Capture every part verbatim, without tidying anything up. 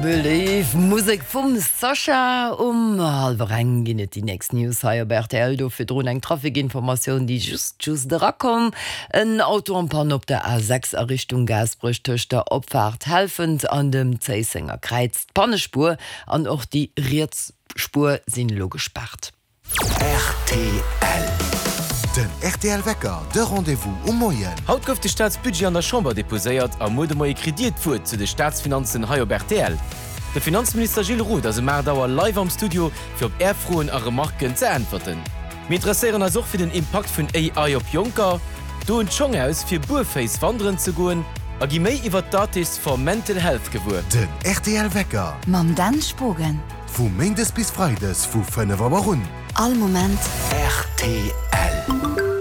Believe Musek vum Sasha. Um hallwer eng ginn et déi nächst News hei op rtl. Do virdrun eng Trafikinformatioun, déi just just erakomm. En Auto en panne op der A sechs a Richtung Gaasperech tëscht der Opfaart Helfent an dem Zéissenger Kräiz. D'Pannespuer an och déi riets Spuer sinn elo gespaart. Rtl. Den rtl Wecker, de Rendez-vous um Moien. Haut gouf de Staatsbudget an der Chamber deposéiert a muer de Moie kritt Dir d'Wuert zu de Staatsfinanzen hei op rtl. De Finanzminister Gilles Roth ass um aacht Auer live am Studio fir op Är Froen a Remarken ze äntwerten. Mir interesséieren eis och fir den Impakt vun A I op Jonker, doen d'Schong aus fir buerféiss wanderen ze goen a gi méi iwwer d'Artists for Mental Health gewuer. Den rtl Wecker. Mam Dan Spogen. Vu Méindes bis Freides vu fënnef Auer un. All Moment. Rtl.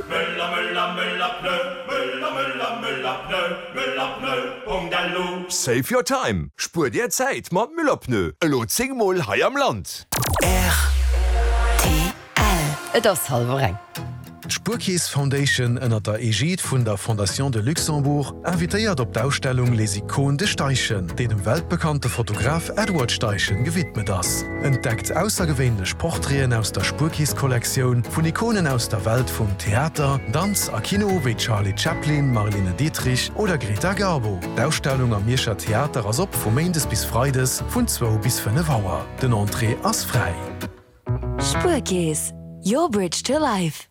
Möller, Möller, Möller, Pneu, Möller, Möller, Möller, Pneu, Möller, Pneu, Punkt elo. Save your time, spuer dir Zäit mat Müller Pneu, elo zéng mol hei am Land. Rtl. Et ass hallwer eng. D'Spuerkeess Foundation ënnert der Egide vun der Fondation de Luxembourg invitéiert op d'Ausstellung Les Icônes de Steichen, déi dem weltbekannte Fotograf Edward Steichen gewidmet ass. Entdeckt aussergewéinlech Portraiten aus der Spuerkeess-Kollektioun vun Ikonen aus der Welt vum Theater, Danz a Kino wéi Charlie Chaplin, Marlene Dietrich oder Greta Garbo. D'Ausstellung am Mierscher Theater ass op vu Méindes bis Freides vun zwou bis fënnef Auer. Den Entrée ass fräi. Spuerkeess, your bridge to life.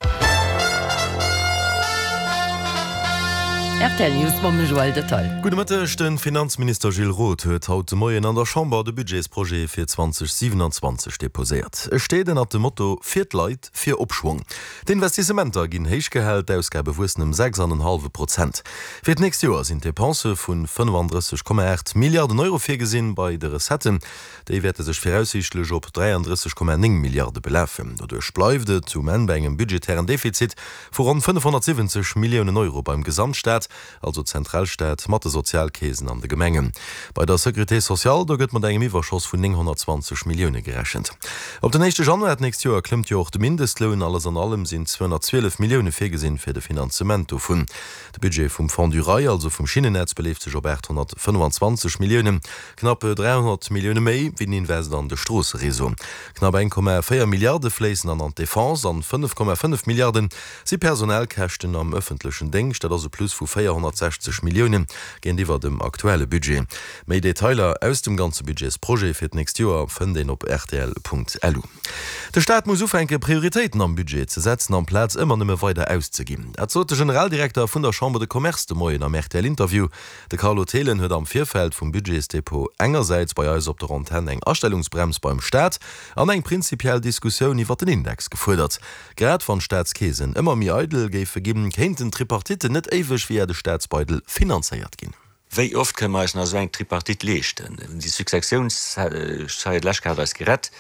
Rtl News mam Joël Detail. Gudde Mëtteg, De Finanzminister Gilles Roth huet haut de Moien an der Chamber de Budgetsprojet fir zweedausendsiwenanzwanzeg deposéiert. E steet ënnert dem Motto Fir d'Leit, fir Opschwong. D'Investissementer ginn héich gehal, d'Ausgabe wuessen ëm sechs an en hallwe Prozent. Fir d'nächst Joer sinn Depensë vu fënnefandrësseg Komma aacht Milliarden Euro virgesinn. Bei de Recetten, déi wäerte sech viraussiichtlech op dräiandrësseg Komma néng Milliarde belafen. Doduerch bleift et um Enn bei engem budgetären Defizit vu ronn fënnefhonnertsiwwenzeg Milliounen Euro beim Gesamtstaat, also Zentralstaat mat de Sozialkeesen an de Gemengen. Bei der Sécurité sociale, do gëtt mat engem Iwwerschoss vun nénghonnertzwanzeg Millioune gerechent. Op den éischte Januar d'nächst Joer klëmmt jo och de Mindestloun. Alles an allem sinn zweehonnertzwielef Millioune virgesinn fir de Finanzement dovun. De Budget vum Fonds du Rail, also vum Schinnennetz, beleeft sech op aathonnertfënnefenzwanzeg Milliounen, knapp dräihonnert Millioune méi wéi den Invest an de Stroossereseau. Knapp eng Komma véier Milliarde fléissen an an d'Defense an fënnef Komma fënnef Milliarde si Personalkäschten am ëffentlechen Déngscht. Dat ass e Plus vu véierhonnertsechzeg Millioune géintiwwer dem aktuelle Budget. Méi Detailer aus dem ganze Budgetsprojet fir d'nächst Joer fënnt een op rtl.lu. De Staat muss ufänke Prioritéiten am Budget ze setzen, amplaz ëmmer nëmme weider auszeginn. Dat sot de Generaldirekter vun der Chambre de Commerce de Moien am R T L-Interview. De Carlo Thelen huet am Virfeld vum Budgetsdepot engersäits bei eis op der Antenn eng Astellungsbrems beim Staat an eng prinzipiell Diskussioun iwwer den Index gefuerdert. Grad wann d'Staatskeesen ëmmer méi eidel géife ginn, kéinten d'Tripartitten net éiweg via de Staatsbeidel finanzéiert ginn. Wéi oft kënne mer eis nach esou eng Tripartite leeschten? Déi Successiounssteier, d'lescht Kéier hat eis gerett,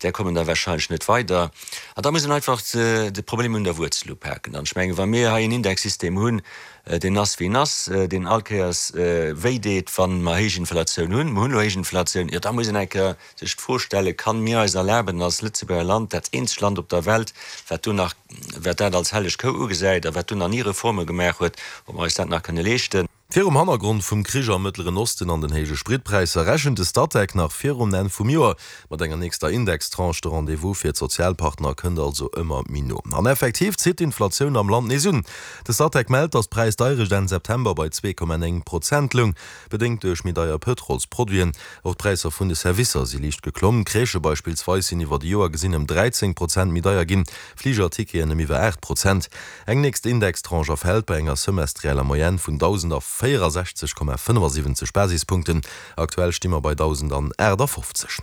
där kommen da wahrscheinlech net weider. An da muss een einfach de Problem un der Wuerzel upaken. An ech mengen, wa mir hei en Indexsystem hunn, deen ass wéi en ass, deen all Kéiers wéi deet, wa mer héich Inflatioun hunn, mer hunn elo héich Inflatioun, jo da muss een eng Kéier sech d'Fro stellen, Kann mir eis erlaben als Lëtzebuerger Land, dat eenzegt Land op der Welt, wat do nach, wat dat als helleg Kou ugesäit a wat do nach ni Reforme gemaach huet, ob mer eis dat nach kënne leeschten? Virum Hannergrond vum Krich am Mëttleren Osten an den héije Spritpräisser rechent de Statec nach virum Enn vum Joer mat enger nächster Indextranche. De Rendez-vous fir d'Sozialpartner kënnt also ëmmer méi no. An effektiv zitt d'Inflatioun am Land nees un. De Statec mellt, datt d'Präisdeierecht Enn September bei zwee Komma néng Prozent loung, bedéngt duerch méi deier Pëtrolsproduiten. Och d'Präisser vun de Servicer si liicht geklomm. Crèchë beispillsweis sinn iwwer de Joer gesinn ëm dräizéng Prozent méi deier ginn, Fligerticketen ëm iwwer aacht Prozent. Eng nächst Indextranche erfält bei enger semestrieller Moyenne vun dausendvéierasechzeg Komma fënnefasiwwenzeg Basispunkten. Aktuell sti mer bei dausendaachtafofzeg.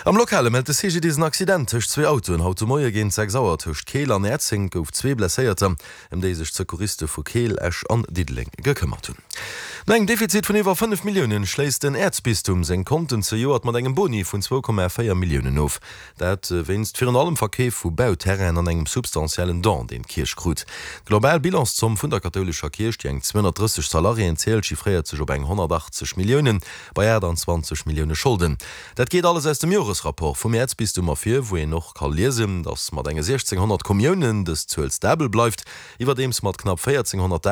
Am Lokale mellt de C G D I S en Accident tëscht zwee Autoen haut de Moie géint sechs Auer tëscht Keel an Näerzeng. Et gouf zwee Blesséierter, ëm déi sech d'Secouriste vu Keel, Esch an Diddeleng gekëmmert hunn. No engem Defizit vun iwwer fënnef Milliounen schléisst den Äerzbistum seng Konten zejoert mat engem Boni vun zwou Komma véier Milliounen of. Dat wéinst virun allem Verkeef vu Bauterrainen an engem substantiellen Don, deen d'Kierch krut. D'global Bilanszomm vun der kathoulescher Kierch, déi eng zweehonnertdrësseg Salariéen zielt, chiffréiert sech op eng honnertachtzeg Milliounen, bei aachtanzwanzeg Millioune Scholden. Dat geet alles aus dem Joresrapport vum Äerzbistum ervir, wou een och ka liesen, datt mat enge siechzénghonnert Kommiounen dës Zuel stabel bleift, iwwerdeems mat knapp véierzénghonnert